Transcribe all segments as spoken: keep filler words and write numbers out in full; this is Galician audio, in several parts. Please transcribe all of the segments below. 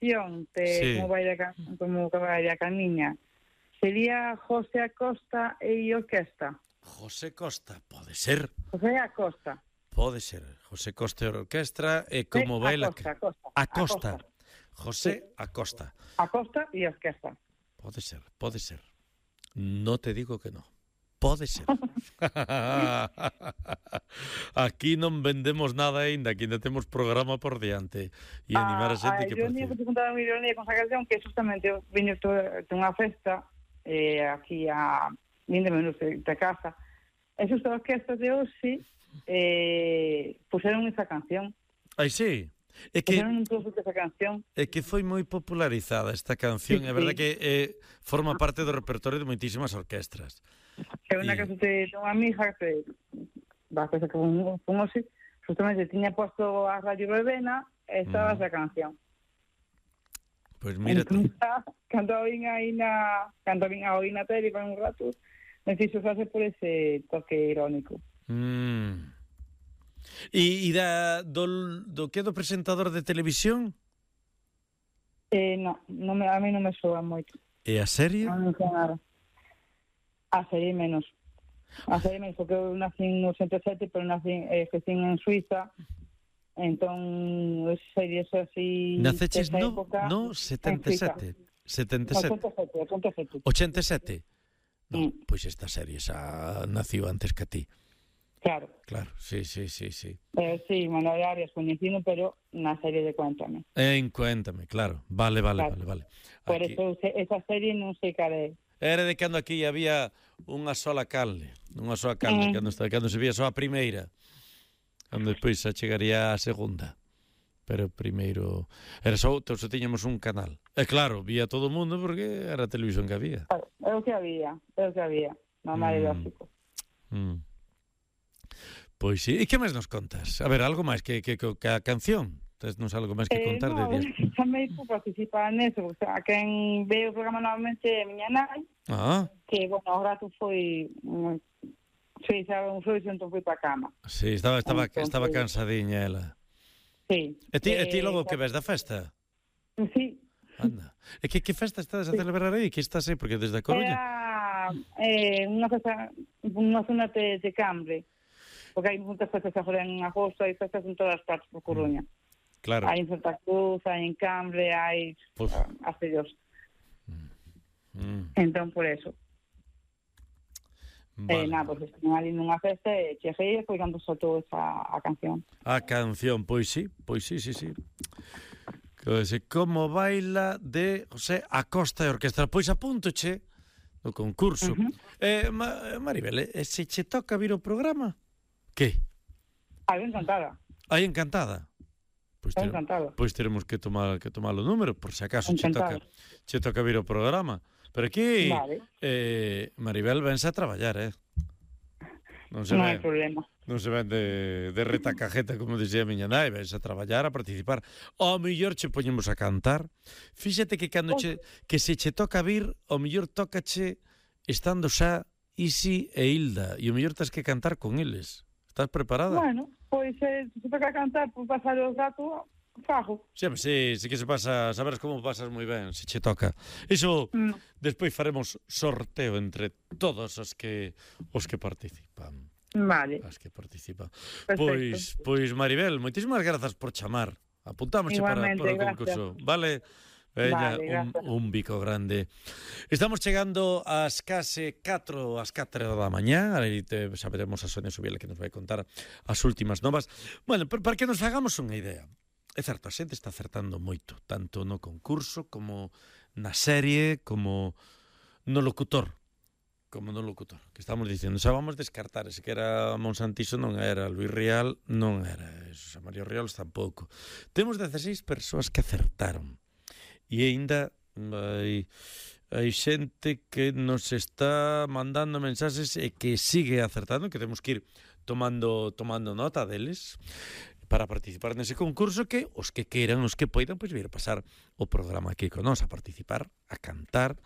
canción de Sí. como vai a, ca- como vai a camiña, sería José Acosta e orquesta. José Costa, pode ser, José Acosta. pode ser. José Costa e orquestra e Eh, como baila... Acosta, Acosta. Acosta. José Sí. Acosta. Acosta e orquesta. Pode ser, pode ser. No te digo que no. Pode ser. Aquí non vendemos nada aínda, aquí ainda temos programa por diante. E animar a xente que yo ni participe. vou contar a ironía con esa canción que justamente eu vine de unha festa eh, aquí a vinte minutos de, de casa e xusto a orquesta de hoxe eh, puseron esa canción Ai, sí. É que puseron un trozo de esa canción. é que foi moi popularizada esta canción, Sí, é verdade sí. que eh, forma parte do repertorio de moitísimas orquestras. É unha Y- casa de, de unha amiga que va a casa que fun, fun hoxe justamente tiña posto a Radio Verbena e estaba Mm. esa canción. Pois mírate. Entón, cando a oín aí na cando a oín a oín na tele por un rato me fixo facer por ese toque irónico. Mm. E, e da, do, do que do presentador de televisión? Eh, no, no me, a mí non me soa moito. E a serie? Non me soa nada. A serie menos. A serie menos, porque eu nací en ochenta e sete, pero nací, eh, crecí en Suiza, entón, as series así... Naceches desa no, época, no en setenta e sete. setenta e sete. ochenta e sete, ochenta e sete. ochenta e sete. No, Mm. pois esta serie xa naciu antes que a ti. Claro. Claro, sí, sí, sí, sí. Eh, sí, Manuel Arias coñecido, pero na serie de Cuéntame. En Cuéntame, claro. Vale, vale, Claro. vale, vale. Por Aquí. eso se- esa serie non sei cal é. Era de cando aquí había unha sola calde, unha sola calde, Mm. cando, está- cando se vía só a primeira, cando despois xa chegaría a segunda. Pero primeiro era só, só tiñamos un canal. E claro, vía todo o mundo porque era a televisión que había. É o que había, é o que había. Normal e Mm. lógico. Mm. Pois sí, e que máis nos contas? A ver, algo máis que, que, que a canción? Tesnos algo máis que Eh, contar no, de días? tamén por participar neso, o sea, quen ve o programa novamente é a miña nai, Ah, que, bueno, o rato foi, mm, sí, sabe, un fluxo, entón foi pa cama. sí, estaba, estaba, Entón, estaba pois- cansadiña ela. Sí. E ti, e ti Eh, logo que ves da festa? Sí. Anda. E que, que festa estás a celebrar aí? Que estás aí? Porque desde a Coruña... Era eh, unha festa, unha zona de, de Cambre, porque hai moitas festas agora en agosto, hai festas en todas partes por Coruña. Claro. Hai en Santa Cruz, hai en Cambre, hai Pues- uh, Acellos. Mm, Entón, por eso. vale. Eh, nada, pues estiven ali nunha festa e cheguei e foi cando soltou esa a canción. A canción, pois sí, pois sí, sí, sí. Que se como baila de José Acosta e Orquestra. Pois apúntoche no concurso. Uh-huh. eh, Ma- Maribel, e se che toca vir o programa? Que? Ah, ben encantada. Aí encantada. Pois, Ben ter, encantada. pois teremos que tomar que tomar o número por se acaso che toca, Encantada. che toca vir o programa. Pero aquí Vale. eh, Maribel vense a traballar, eh. Non se Non ven, hai problema. non se ven de, de retacajeta, como dicía a miña nai, vense a traballar, a participar. Ao mellor che poñemos a cantar. Fíxate que cando che, que se che toca vir, ao mellor tócache estando xa Isi e Hilda, e o mellor tens que cantar con eles. Estás preparada? Bueno, pois eh, se toca cantar por pasar o rato, fago. Sempre, sí, sí que se pasa, saberes como pasas moi ben, se che toca. Iso, Mm. despois faremos sorteo entre todos os que os que participan. Vale. As que participan. Perfecto. Pois, pois Maribel, moitísimas grazas por chamar. Apuntamos para, Igualmente, para o gracias. concurso. Vale? Veña, Vale, un, gracias. un bico grande. Estamos chegando ás case catro, ás catro da mañá. Aí te, saberemos a Sonia Subiela que nos vai contar as últimas novas. Bueno, pero para que nos hagamos unha idea. É certo, a xente está acertando moito, tanto no concurso como na serie, como no locutor. Como no locutor, que estamos dicindo, xa vamos descartar, ese que era Monsantiso non era, Luis Rial non era, eso, Mario Riolos tampouco. Temos dezasseis persoas que acertaron, e aínda hai, hai xente que nos está mandando mensaxes e que sigue acertando, que temos que ir tomando, tomando nota deles, para participar nese concurso, que os que queiran, os que poidan, pois vir a pasar o programa aquí con nós, a participar, a cantar,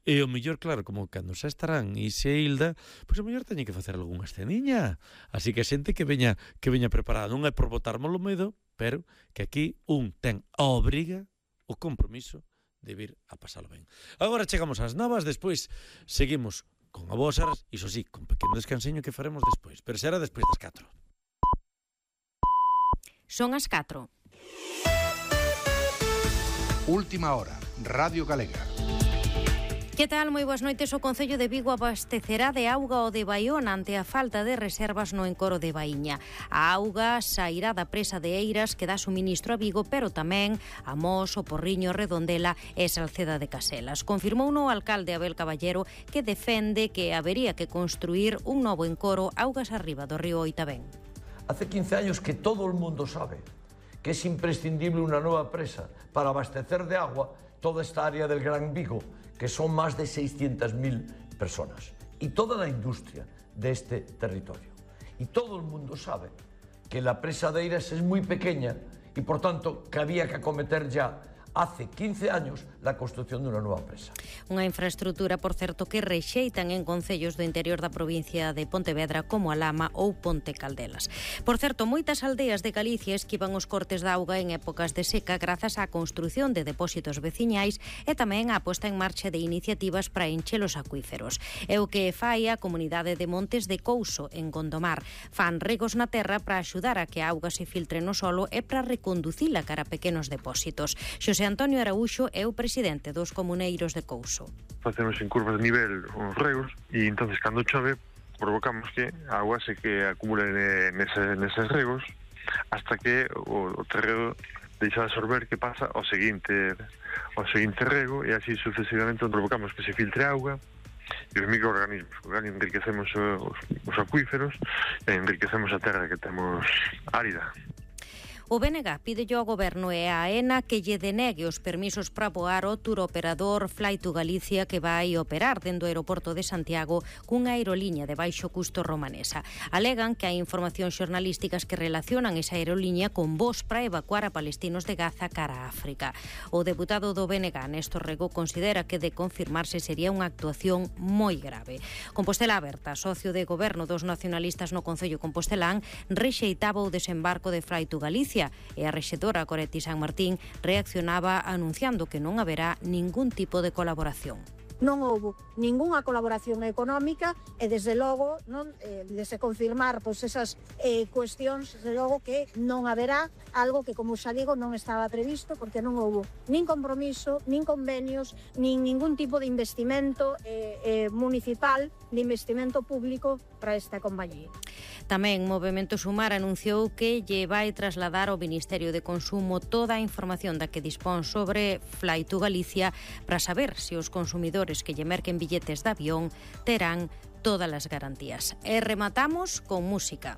e o mellor, claro, como cando xa estarán Isi e Hilda, pois o mellor teñen que facer algunha esceniña, así que a xente que veña que veña preparada, non é por botarmos o medo, pero que aquí un ten a obriga o compromiso de vir a pasalo ben. Agora chegamos ás novas, despois seguimos con a boas horas, iso sí, con pequeno descanseño que faremos despois, pero será despois das catro. Son as catro. Última hora, Radio Galega. Que tal? Moi boas noites. O Concello de Vigo abastecerá de auga o de Baión ante a falta de reservas no encoro de Baíña. A auga sairá da presa de Eiras que dá suministro a Vigo, pero tamén a Mos, o Porriño, Redondela e Salceda de Caselas. Confirmou o alcalde Abel Caballero que defende que habería que construir un novo encoro augas arriba do río Oitabén. Hace quince años que todo el mundo sabe que es imprescindible una nueva presa para abastecer de agua toda esta área del Gran Vigo, que son más de seiscientas mil personas, y toda la industria de este territorio. Y todo el mundo sabe que la presa de Eiras es muy pequeña y, por tanto, que había que acometer ya hace quince años la construción de unha nova presa. Unha infraestructura, por certo, que rexeitan en concellos do interior da provincia de Pontevedra como a Lama ou Ponte Caldelas. Por certo, moitas aldeas de Galicia esquivan os cortes de auga en épocas de seca grazas á construción de depósitos veciñais e tamén á posta en marcha de iniciativas para encher os acuíferos. É o que fai a comunidade de Montes de Couso, en Gondomar. Fan regos na terra para axudar a que a auga se filtre no solo e para reconducila cara a pequenos depósitos. Xosé Antonio Araúxo é o presidente dos comuneiros de Couso. Facemos en curvas de nivel os regos e entonces cando chove provocamos que a agua se que acumule nese, neses regos hasta que o, o terreno deixa de absorber que pasa ao seguinte ao seguinte rego e así sucesivamente provocamos que se filtre auga e os microorganismos, enriquecemos os, os acuíferos e enriquecemos a terra que temos árida. O B N G pide ao Goberno e a AENA que lle denegue os permisos para voar o turoperador Fly to Galicia que vai operar dentro do aeroporto de Santiago cunha aeroliña de baixo custo romanesa. Alegan que hai informacións xornalísticas que relacionan esa aeroliña con voos para evacuar a palestinos de Gaza cara a África. O deputado do B N G, Néstor Rego, considera que de confirmarse sería unha actuación moi grave. Compostela Aberta, socio de goberno dos nacionalistas no Concello Compostelán, rexeitaba o desembarco de Fly to Galicia e a rexedora Coretti San Martín reaccionaba anunciando que non haberá ningún tipo de colaboración. Non houbo ningunha colaboración económica e, desde logo, non, eh, de se confirmar pois, esas eh, cuestións, desde logo que non haberá algo que, como xa digo, non estaba previsto porque non houbo nin compromiso, nin convenios, nin ningún tipo de investimento eh, eh, municipal, de investimento público para esta compañía. Tamén Movemento Sumar anunciou que lle vai trasladar ao Ministerio de Consumo toda a información da que dispón sobre Fly to Galicia para saber se os consumidores que lle merquen billetes de avión terán todas as garantías. E rematamos con música.